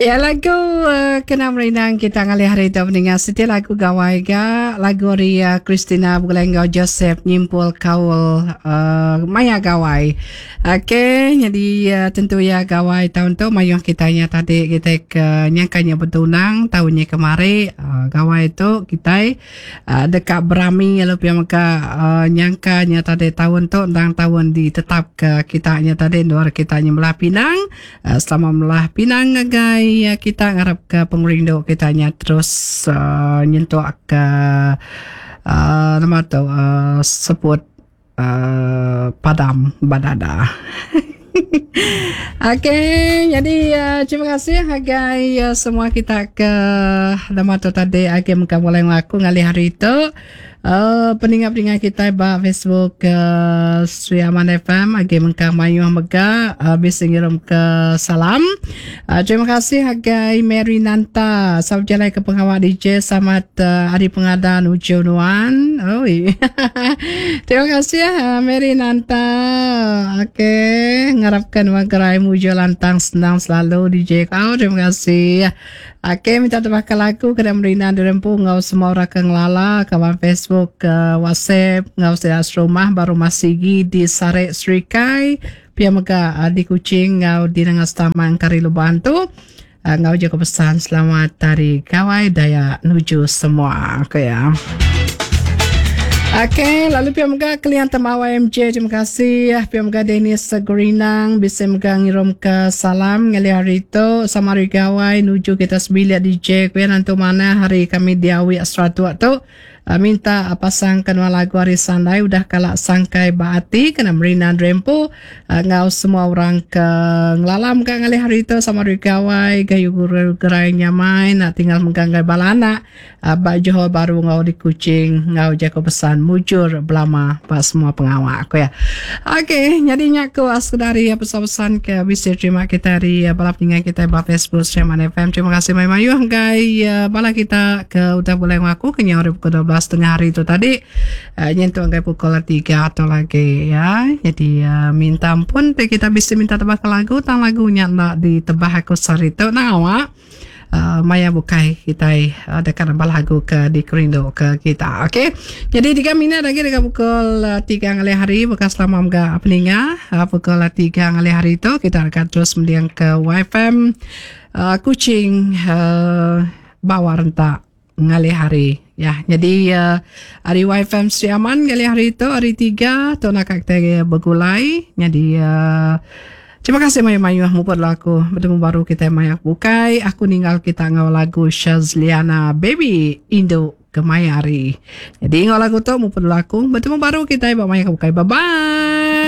Ya lagu uh, kena merindang kita ngalih hari tu mendengar siti lagu gawai ga lagu ari uh, Christina begulai enggau Joseph nyimpul kaul uh, maya gawai. Okey, jadi uh, tentu ya gawai tahun tu mayuh kita nya tadi kita ke nyangka nya betunang tahun nya kemari uh, gawai tu kita Deka berami lalu pia mega nyangka nya tadi taun tu endang taun ditetapka kita nya tadi endur kita nyemelah pinang. Selama melah pinang ngagai kita ngarapka pengerindu kita nya terus nyentuk ke nama tu seput Padam ba dada. Okey, jadi uh, terima kasih ngagai uh, semua kita ke nama tu tadi agi mega mulai ngaku ngalih hari tu. Uh, peninga-peninga kita ba Facebook uh, Sri Aman FM agi mengkang mayuh mega uh, bisi ngirum ke salam. Uh, terima kasih ngagai Mary Nanta sama bejalai ke pengawa DJ selamat uh, hari pengada nuju nuan. Oi. Terima kasih uh, Mary Nanta. Okey, ngarapkan nuan gerai mujur lantang senang selalu DJ kau. Terima kasih. Okey, minta tebaka lagu kena merina dirempu enggau semua orang ke ngelala kawan Facebook, uh, WhatsApp enggau sida serumah ba rumah Sigi di Sarek Serikai. Pia mega uh, di Kuching enggau di Nanga Setaman Kari Lubang tu. Enggau jaku pesan selamat Hari Gawai Dayak nuju semua. Ku iya. Okey, lalu pia mega Kelian Temawai MJ, terima kasih. Pia mega Dennis Gerinang bisi mega ngirum ke salam ngalih hari tu sama hari gawai nuju kita sebilik DJ ku iya nentu manah hari kami diawi Seratuk tu. Minta pasang ke nuan lagu ari Sandai udah kala sangkai ba ati kena merina Drempu enggau semua orang ke ngelala mega ngalih hari tu sama hari gawai gayu guru gerai nyamai enda tinggal mega ngagai bala anak ba Johor Bahru enggau di Kuching enggau jaku pesan mujur belama ba semua pengawa ku iya. Ok nyadi nya ku sekeda ari pesan-pesan ke bisi terima kitai ari bala peninga kitai ba Facebook Streaman FM. Terima kasih mayuh-mayuh ngagai bala kita ke udah bulai enggau aku kenyau ari pukul 12 tengah hari tu tadi nyentuk ngagai pukul 3 tu lagi ya. Jadi minta ampun ti kita bisi minta tebah ke lagu tang lagu nya enda ditebah aku sehari tu nah maya bukai kitai deka nambah lagu ke dikerindu ke kita. Okey. Jadi 3 minit lagi deka pukul 3 ngalih hari baka selama mega peninga pukul 3 ngalih hari tu kita deka terus mending ke YFM Kuching bawa rentak ngalih hari. Ya, jadi ari YFM Sri Aman ngalih hari tu hari 3 tu naka kitai begulai. Jadi terima kasih mayuh-mayuh muput lalu aku betemu baru kitai maya bukai. Aku ninggal kita enggau lagu Shazliana Baby Indu Kemaya Hari. Jadi enggau lagu tu muput lalu aku betemu baru kitai ba maya bukai. Bye bye.